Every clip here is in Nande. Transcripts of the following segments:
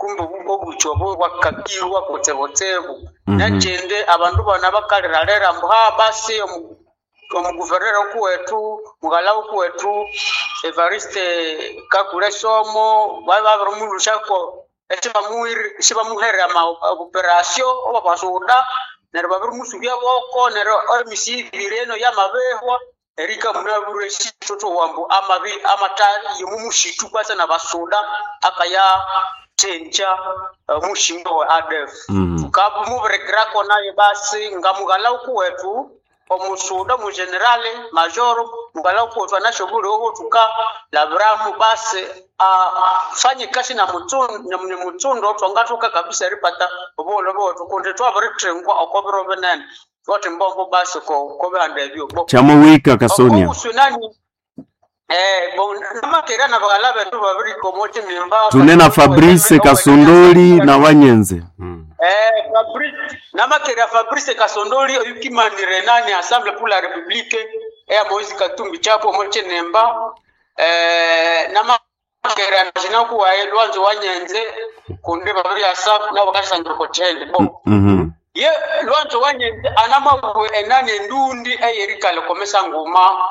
Kumbe obubuchi obo bwakakirwa kutsibutsibu. Nekindi abandu bana bakaliralira ambu ha basi omuguvernera okuwetu mughala okuwetu Evariste Kakule Somo babirimulusako isibamuhere ama operation obwabasuda neryo babirimusubya boko neryo emisi ibiri eno yamabihwa erika munabwire sithuthuwa ambu amabi amata yomumushitu kwasa nabasuda akaya thenja omushinga wa ADF. Thukamubirikirako naye basi nga mughala okuwetu omusuda omugenerale majoro mughala okuwetu anasyobuliwo thukalabiramu basi afanye kasi na mutsundo thwangathoka kabisa eripata obuholho bwethu kundi thwabirithingwa oko biro binene thukathi mbombo basi kobihanda ebyo. Chamowika Kasonia. Obusunani namakera nabaghala bethu babirika omo kinimba Tune na Fabrice Kasondoli na Wanyenze. Fabrice namakera Fabrice Kasondoli oyukimanire nani Assemblée pour la République eya Moise Katumbi Chapwe omo kinimba namakera nakuwaye Lwanzo Wanyenze kundi babiryasa nabo bakashangira oko kyende bo. Ye Lwanzo Wanyenze anamabwe enani endundi eyerikala okomesa nguma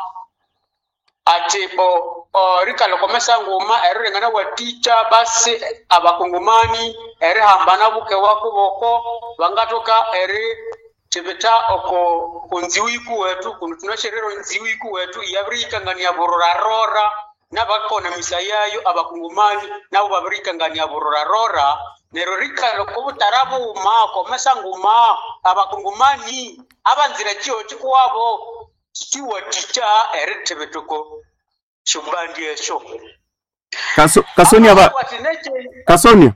ati bo rikala okomesa nguma erilengana watikya basi abakongomani erihambana bukewa kuboko bangathoka erithibitha oko konziwu ikuwethu kundi thunasherera onziwu ikuwethu iyabiriyikangania burorarora nabakona misa yayo abakongomani nabo babiriyikangania burorarora neryo rikala okobutara bughuma okomesa nguma abakongomani abanzire kyiho kikuwabo kiwathikya erithibitha oko syobandi esyo. Kasonia aba Kasonia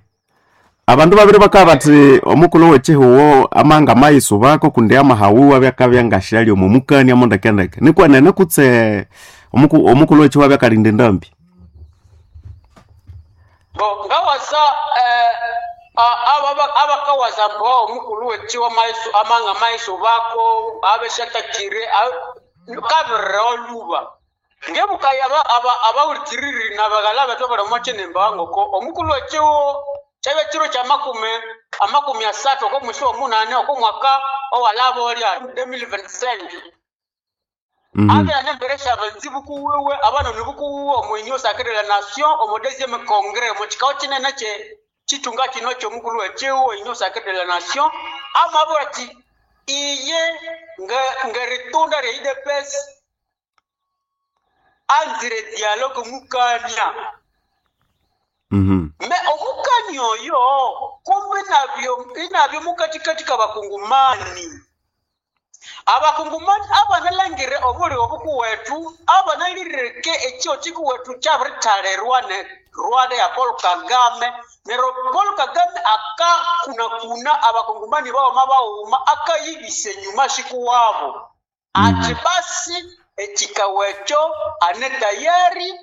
abandu babiri bakabya bathi omukulhu wekyihuwo amanga amayisubako kundi amahawuwa abyakabya ngasyalya omo mukania mondekendeke nikwenene kutse omukulhu wekyihuwo abyakalinda endambi? Bo ngawasa abakawasa mbo omukulhu wekyihuwo amanga amayisubako abesyatakire kabirira olhuba ngebukaya abawulikiriri nabaghala bethu abali omo kinimba ngoko omukulhu wekyihuwo kyabya kiro kya amakumi asathu oko mwisi womunani oko mwaka owalaba olya 2025. Abya nembere syabanzibu kuwiwe abanoni bukuwiwe omu Union Sacrée de la Nation omu deuxième congrès omu kikao kinene kye kitunga kino kyomukulhu wekyihuwo Union Sacrée de la Nation amabwira athi iye ngeritunda rye UDPS anzire dialogue mukania. Me omukania oyo kumbe inabyo mukatikati kabakungumani. Abakungumani abanalangire obuliwo bukuwethu abanalireke ekyiho kikuwethu kyabirithalirwa ne Rwanda ya Paul Kagame neryo Paul Kagame akakunakuna abakungumani bawoma bawuma akayibisa enyuma shikuwabo athi basi ekikawa ekyo ane tayari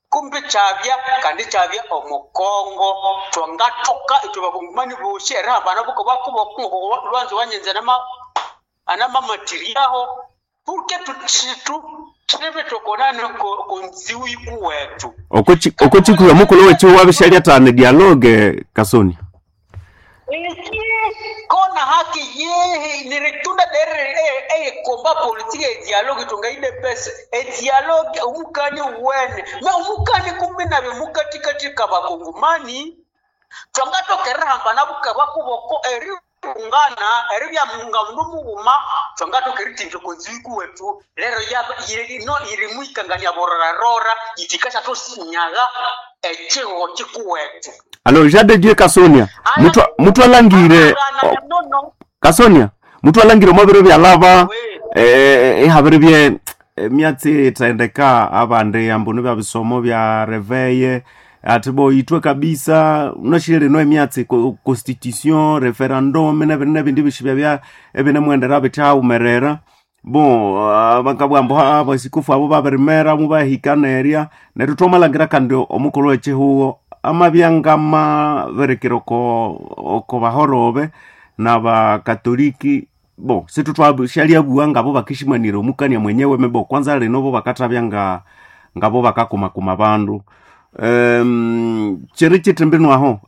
kumbe kyabya kandi kyabya omukongo thwangathoka ithwe bakungumani bosi erihambana bukobakubo Lwanzo Wanyenze anamamathiryaho purke thibithokonane konziwu ikuwethu. Oko kikuhi omukulhu wekyihuwo abishalyathana dialogue Kasonia? Iki kona haki yehe niritunda dere eyekomba politiki edialogue tunga UDPS edialogue omukani wene me omukani kumbe nabyo mukatikati kabakongomani thwangathoka erihambana bukaba kuboko erihungana eribya nga mundu mughuma thwangathoka erithindya okonziwu ikuwethu lero ino irimwikangania burorarora yithikasyathunyaga ekyihuho kikuwethu. Alo Jean de Dieu Kasonia muthu alangire Kasonia muthu alangire omo biro byalaba ihabiribye emyatsi ithendeka abandi ambu nibya bisomo bya reveye ati bo itwe kabisa unashire lino emyatsi constitution referendum nebindi nebindi bishibya bya ebinemwendera bithawumerera bo bakabugha ambu abasikufu abo babirimera mubahikanerya neryo thwamalhangira kandi omukulhu wekyihuwo amabya ngamaberekera oko bahorobe nabakatoliki bo sithutwashalyabuwa ngabo bakishimanira omukania mwenyewe mebo kwanza lino bo bakathabya ngabo bakakumakuma bandu kyiri kyithimbi nwaho.